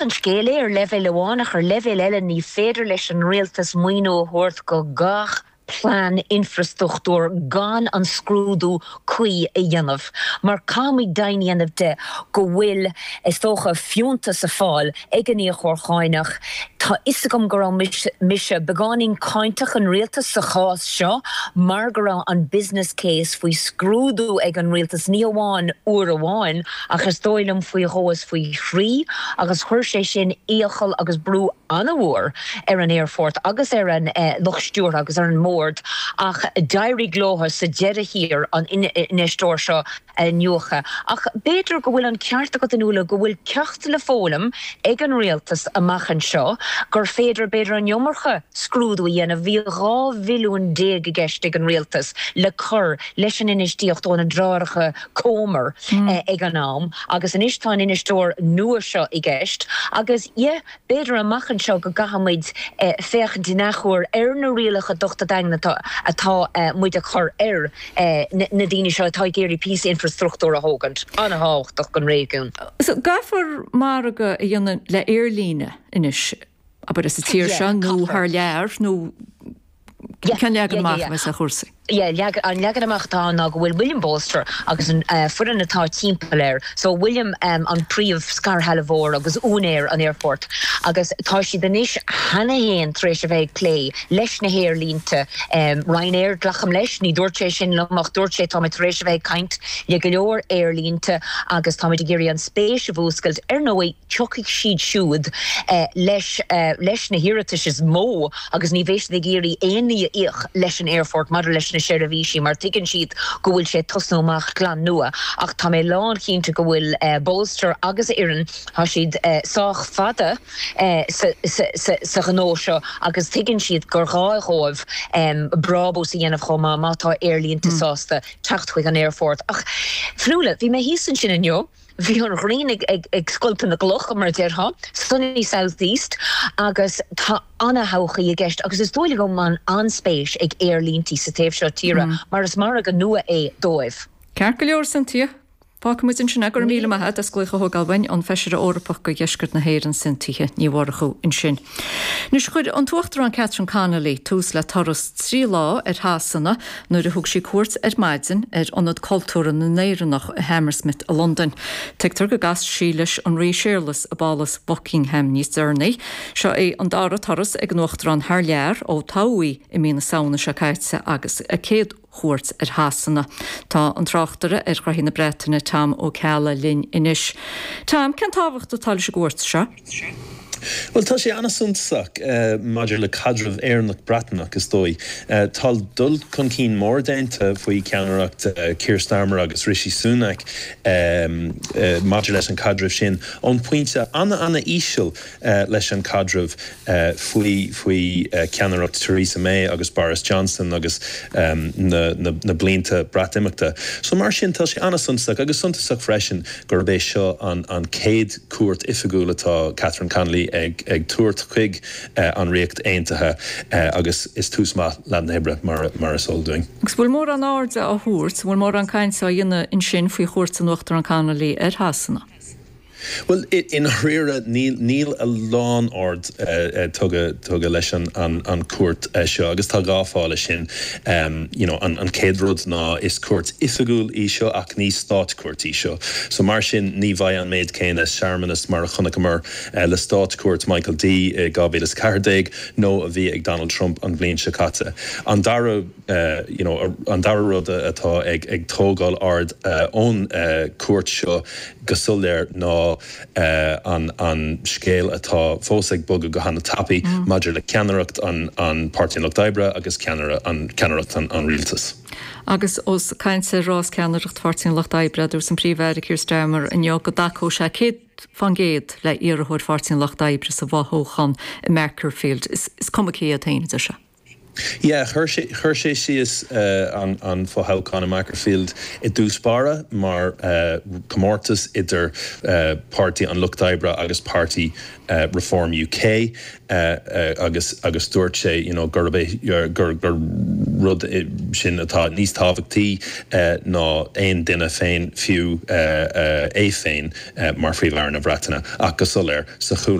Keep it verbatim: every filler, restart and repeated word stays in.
an scéal é ar leibhéal amháin ach ar leibhéal eile ní féidir leis an rialtas maoiniú a thabhairt go gach plean infrastruchtúir gan an scrúdú cuí a dhéanamh. Mar caithfimid deimhin a dhéanamh de go bhfuil is dócha fiúntas á fháil ag an íocóir cánach. Tá a fhios agam go raibh mise beagáinín cáinteach an rialtas sa chás seo mar go raibh an business case faoi scrúdú ag an rialtas ní amháin uair amháin ach is dóigh liom faoi dhó is faoi thrí agus chuir sé sin iachall agus brú an-mhór ar an aerfort agus ar an lucht stiúrtha agus ar an mbord ach d'éirigh leo sa deireadh thiar an infheisteoir seo a iniúchadh. Ach b'fhéidir go bhfuil an ceart agat Fionnuala go bhfuil ceacht le foghlaim ag an rialtas amach anseo gur féidir b'fhéidir an iomarca scrúdú a dhéanamh bhí dhá bhilliún déag i gceist ag an rialtas le cur leis an infheistíocht ó na deartháireacha Comer ag an am agus anois tá an infheisteoir nua seo i gceist agus yeah b'fhéidir amach anseo go gcaithfimid féachaint in athuair ar na rialacha dochta daingne atá muid a chur ar na daoine seo atá ag iarraidh píosa infrastruchtúr a thógaint an-tábhachtach don réigiún. So caithfear margadh a dhéanamh le aerlíne anois abair sa tír seo nó thar lear nó cén leagan amach a bheas ar chúrsaí. Yeah, an leagan amach atá ná go bhfuil William Bolster agus an uh, foireann atá timpeall air. So William um, an príomh scairshealbhóir agus úinéir an airport. Agus tá siad anois cheana féin tar éis a bheith ag plé leis na haerlínte um, Ryanair glacaim leis, ní dúirt sé sin liom ach dúirt sé tá tar éis a bheith ag caint le go leor aerlínte agus tá ag iarraidh an spéis a mhúscailt ar ndóigh tiocfaidh siad siúd uh, leis, uh, leis na hiarratais is mó agus ní bheidh siad ag iarraidh aon ní a íoc leis an airport maidir leis na seirbhísí mar tuigeann siad go bhfuil sé tosnú amach glan nua ach tá mé lánchinnte go bhfuil uh, Bolster agus a fhoireann tá siad uh, sách fada uh, sa, sa, sa, sa ghnó seo agus tuigeann siad gur gá dóibh um, brabús a dhéanamh chomh maith má tá aerlínte mm. sásta teacht chuig an airport. Ach Fionnuala, bhí mé thíos ansin inniu, Bhí an ghrian ag, ag, ag scoilteadh na gcloch mar déarfá, sunny southeast agus tá an-todhchaí i gceist agus is dóigh go an an-spéis ag aerlíntí sa taobh seo tíre mm. mar is margadh nua é dóibh. Ceart go leor Cynthia. Fágfaimid ansin é go raibh míle maith agat as glaoch a thógáil uainn an feisire Eorpach do dheisceart na hÉireann Cynthia Ní Mhurchú ansin. Anois chuir an tUachtarán Catherine Connolly tús le turas trí lá ar Shasana nuair a thug sí cuairt ar maidin ar Ionad Cultúrtha na nÉireannach i Hammersmith i Londain. Tuigtear go gcasfaidh sí leis an Rí Séarlas i bPálás Buckingham níos deireanaí. Seo é an dara turas ag an Uachtarán thar lear ó toghadh í i mí na Samhna seo caite agus a céad chuairt ar Shasana. Tá an tráchtaire ar ghnoithí na Breataine Tom Ó Ceallaigh linn anois. Tom, cén tábhacht atá leis an gcuairt seo? Well tá sé an-suntasach uh, maidir le caidreamh Éireannach Breatnach is dóigh. Uh, tá dul chun cinn mór déanta faoi cheannaireacht uh, Keir Starmer agus Rishi Sunak um, uh, maidir leis an caidreamh sin ón pointe an-an-íseal uh, leis an caidreamh uh, faoi faoi uh, ceannaireacht Theresa May agus Boris Johnson agus um, na, na, na blianta Breatimeachta. So mar sin tá sé an-suntasach agus suntasach freisin gurb é seo an, an chéad cuairt oifigiúil atá Catherine Connolly ag, ag tabhairt chuig uh, an Ríocht Aontaithe uh, agus is tús maith lá na hoibre mar, mar is eol dúinn. Agus bhfuil mórán airde á thabhairt, bhfuil mórán cainte á dhéanamh ansin faoi chuairt an Uachtarán Connolly ar Shasana. Well i ndáiríre níl níl a lán aird uh, tugtha tugtha leis an an, an cuairt uh, seo agus tá dhá fháth leis sin um, you know, an, an chéad rud ná is cuairt oifigiúil í seo ach ní státchuairt í seo. So mar sin ní bheidh an méid céanna searmanas mar a chonaiceamar uh, le státchuairt Michael D uh, dhá mhíle ceathair déag nó a bhí ag Donald Trump an bhliain seo caite. An dara uh, you know, an dara rud atá ag ag tógáil aird uh, ón uh, cuairt seo go soiléir ná uh, an, an scéal atá fós ag bogadh go han-tapaidh mm. maidir le ceannaireacht an, an Páirtí Lucht Oibre agus ceannaire an ceannaireacht an, an rialtas. Agus ós caint ar rás ceannaireacht Pháirtí an Lucht Oibre dúirt an Príomh-Aire Keir Starmer inniu go dtacódh sé céad faoin gcéad le iarrthóir Pháirtí an Lucht Oibre sa bhfothoghchán i Makerfield. Is, is cuma cé a théann sé. Yeah, chuir sé chuir sé síos uh, an, an fothoghchán i Macclesfield i dtús báire mar uh, comórtas idir uh, Páirtí an Lucht Oibre agus Páirtí uh, Reform UK uh, uh, agus agus dúirt sé you know, gurb é gur gur rud sin atá níos tábhachtaí uh, ná aon duine féin fiú uh, uh, é féin uh, mar Phríomh-Aire na Breataine ach go soiléir sa